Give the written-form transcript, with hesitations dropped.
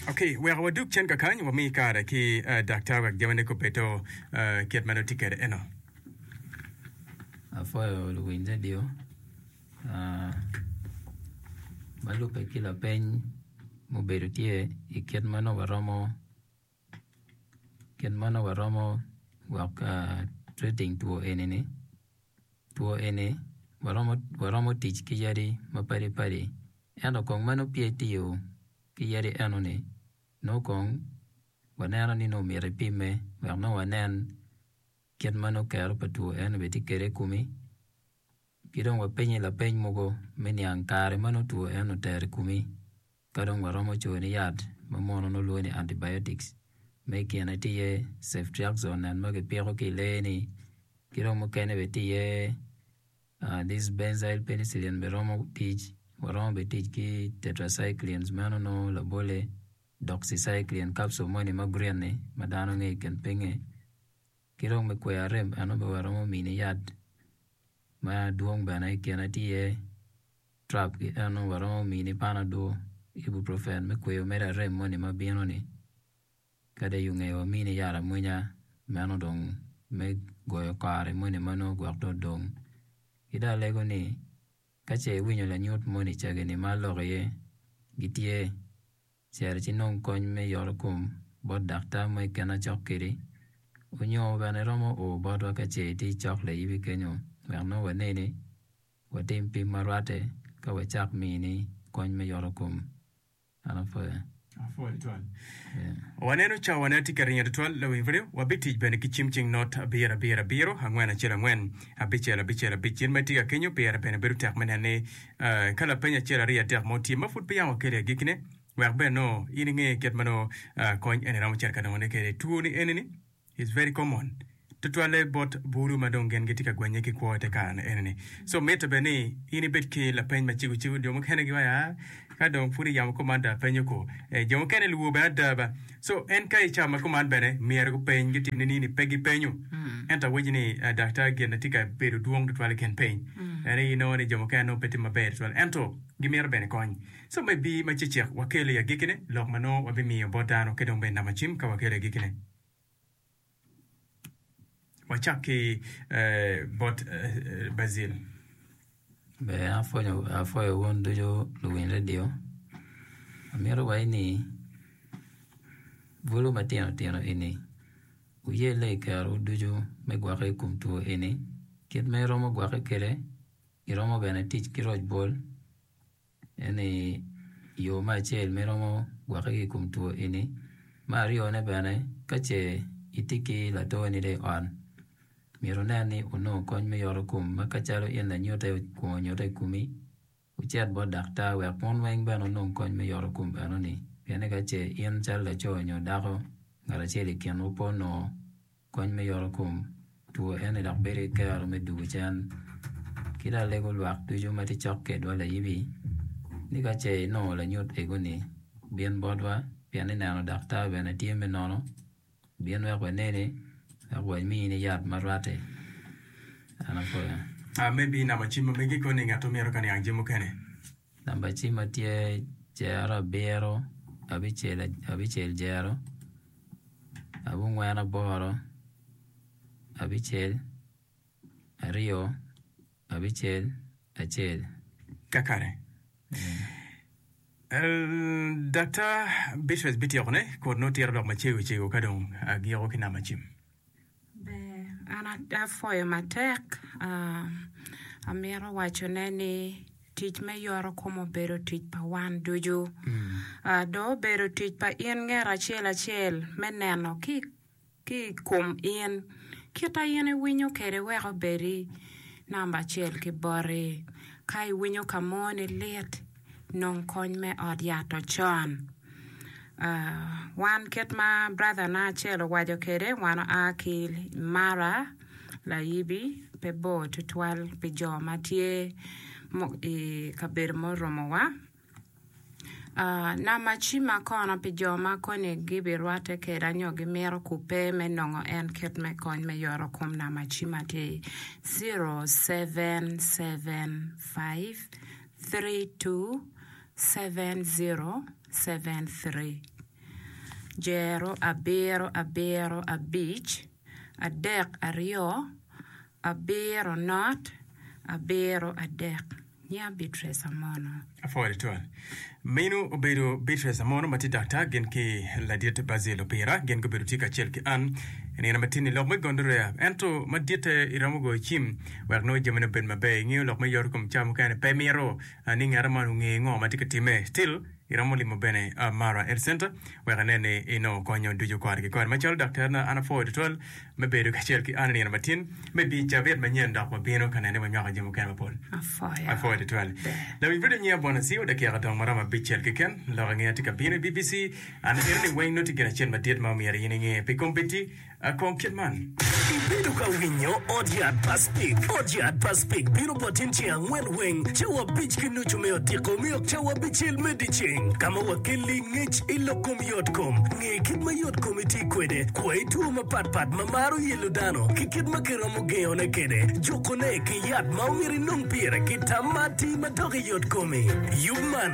Ok, wek wadug cen kakany, wami kare ki daktar wek jamine gubedo kit ma nongo tye kwede eno. Apwoyo luwiny redio ma lubbe ki lapeny mubedo tye i kit ma nongo waromo kit ma nongo waromo gwok treating two eni-ni. Two eni waromo tic ki yadi mapadi padi ento kong ma nongo peya itiyo ki yadi enoni nongo kong waneno ni nongo myero ipimme wek nongo wanen kit ma nongo kero pa two eno bene tye kwede i komi ki dong wapenye lapeny mogo me niang kare ma nongo two eno otero i komi ka dong waromo coni yat ma muno nongo lwongo ni antibiotics ma i kine tye iye ceftriaxone ma kipiko ki i lee-ni ki dong mukene bene tye iye This benzyl penicillin bene romo tic, waromo bene tic ki tetracyclines meno nongo labole doxycycline capsule moni ma green ni ma dano ngeyo i kin pinge ki dong me kweyo arem eno bene waromo mini yat ma dwong bene i kine tye iye trap ki eno waromo mini panadol, ibuprofen me kweyo mere arem moni ma bino ni. Kadi i nge wamini yat amwonya meno dong me goyo kare moni ma nongo gwok dong odong. Ki dong alego ni ka ce iwinyo lanyut moni cagi-ni ma aloko iye gitye, cit ci nong kony me yoto kom bot daktar mo keken acok kwedi onyo bene iromo o botwa ka ce itye cok layibi kenyo wek nongo waneni watim pim ma rwatte ka wacak mini kony me yoto kom. An apwoyo. Apwoyo tutwal. Waneno cawane tye ka ringo tutwal lawiny pud wabitic bene ki cim cing not abiro abiro abiro angwen acel angwen abicel abicel abic in ma itye ka kenyo pire bene bedo tek me neno ni eh, ka lapeny acel aryo adek mo tye ma pud pe yam wakelo i agikkine wek bene nongo in inge kit ma nongo eh, kony eni romo cito ka nongone kwede two ni eni ni It's very common tutwalle bot bulu ma dong gin gitye ka gwenye ki kwo i te kare eni-ni. So mitte bene ni in ibed ki lapeny macego cego. Jo mukene giwaco aa ka dong pud iyamo kuman dong apenyo ko. Eh, jo mukene lwor bene ada ba. So en ka i cawa ma kuman bene myero gupeny gitim nining ni pe gipenyo. Ento awaci ni eh, daktar gin na tye ka bedo dwong tutwal i kin piny. En aye inongo ni jo mukene nongo pe tye maber tutwal ento gimito bene kony. So me bi ma cecek wakelo i agikkine lok ma nongo wabimiyo bot dano ki dong bene namba cim ka wakelo i agikkine. Wacak ki bot Basil. Ber apwoyo wun ducu luwiny redio. Amito waci ni bulu matino tino eni wuyelle i kerowu ducu me gwokke i kom two eni. Kit ma iromo gwokke kwede iromo bene tic ki roc bol. Eni yo me acel ma iromo gwokke ki i kom two eni. Me aryone bene ka ce itye ki latoni dong i ot myero wunen ni wunongo kony me yoto kom ma ka calo in lanyute okwongo nyute i komi wucit bot daktar wek wun weng bene wunong kony me yoto kom enoni pien ni ka ce in calo laco nyo dako ngat acel i kinwu pe onongo Kony me yoto kom two eni dok bedo ki kero me dugo cen ki dong alego lwak ducu ma tye cok kedwa layibi ni ka ce inongo lanyut ego ni bin botwa pien ni neno daktar bene tye me nono bin wek waneni wek wamini yat ma rwatte an apwoyo. Maybe namba cim ma megi koni ngat omyero ka niang jami mukene. Namba cimma tye jero abiro abicel abicel jero abongwen aboro abicel aryo abicel acel. Kakare. Daktar Beatrice bityekone kun nongo tito lok macego cego ka dong agiko ki namba cim. Ber, an apwoyo matek. Amito wacone ni tic me yoto kom obedo tic pa wan ducu. Dong obedo tic pa in nget acel acel me neno ki i kom in kit a in iwinyo kwede wek obedi namba acel ki boti. Ka iwinyo ka mo ni lit, nong kony me ot yat-to con. Wan kit ma brother na acel owaco kwede wan oa ki Mara layibi pe bor tutwal pi jo ma tye i kabedo murumowa. Namba cimma kono pi jo ma koni gibirwatte kweda nyo gimito kubbe me nongo en kit me kony me yoto kom namba cimma tye 0775 32 7073. jero abiro abiro abic adek aryo abiro not abiro adek. Nyinga Beatrice Amono. Apwoyo tutwal. Meno obedo Beatrice Amono ma tye daktar gin ki ladit Basil Opira. Gin gubedo tye kacel ki an i nino matin-ni lok me gonorrhea. Ento maditte iromo goyo cim wek nongo jamine obed maber. Ingeyo lok me yoto kom ca mukene pe mito ni ngat man onge ngo ma tye ka timme. Still iromo limo bene Mara Health Center wek inen ni inongo konyo ducu kore ki kore. Macalo daktarna an apwoyo tutwal me bedo kacel ki an i nino matin me bi cabit manyen dok wabino ka nene wanywako jami mukene mapol. Apwoyo. Apwoyo tutwal. Lawiny redio nyinga Bwana Siu dakika dong maromo abicel keken. Lok angeya tye ka bino i BBC. An eno ni weng nongo tye gin acel madit ma omyero in inge pi kombeddi. Kong kit man. Ibedo ka winyo Ot Yat pa Spik? Ot Yat pa Spik bino botin ceng angwen weng, cawa abic ki nucu me odiko me ok cawa abicel me dyeceng, ka ma wakelli ngec i lok kom yotkom. Nge kit ma yotkomi tye kwede, kwayi two mapatpat ma maro yelo dano, ki kit ma kiromo gengone kwede, jukone ki yat ma omyero inong pire ki tam ma atir madok i yotkomi. Yub man.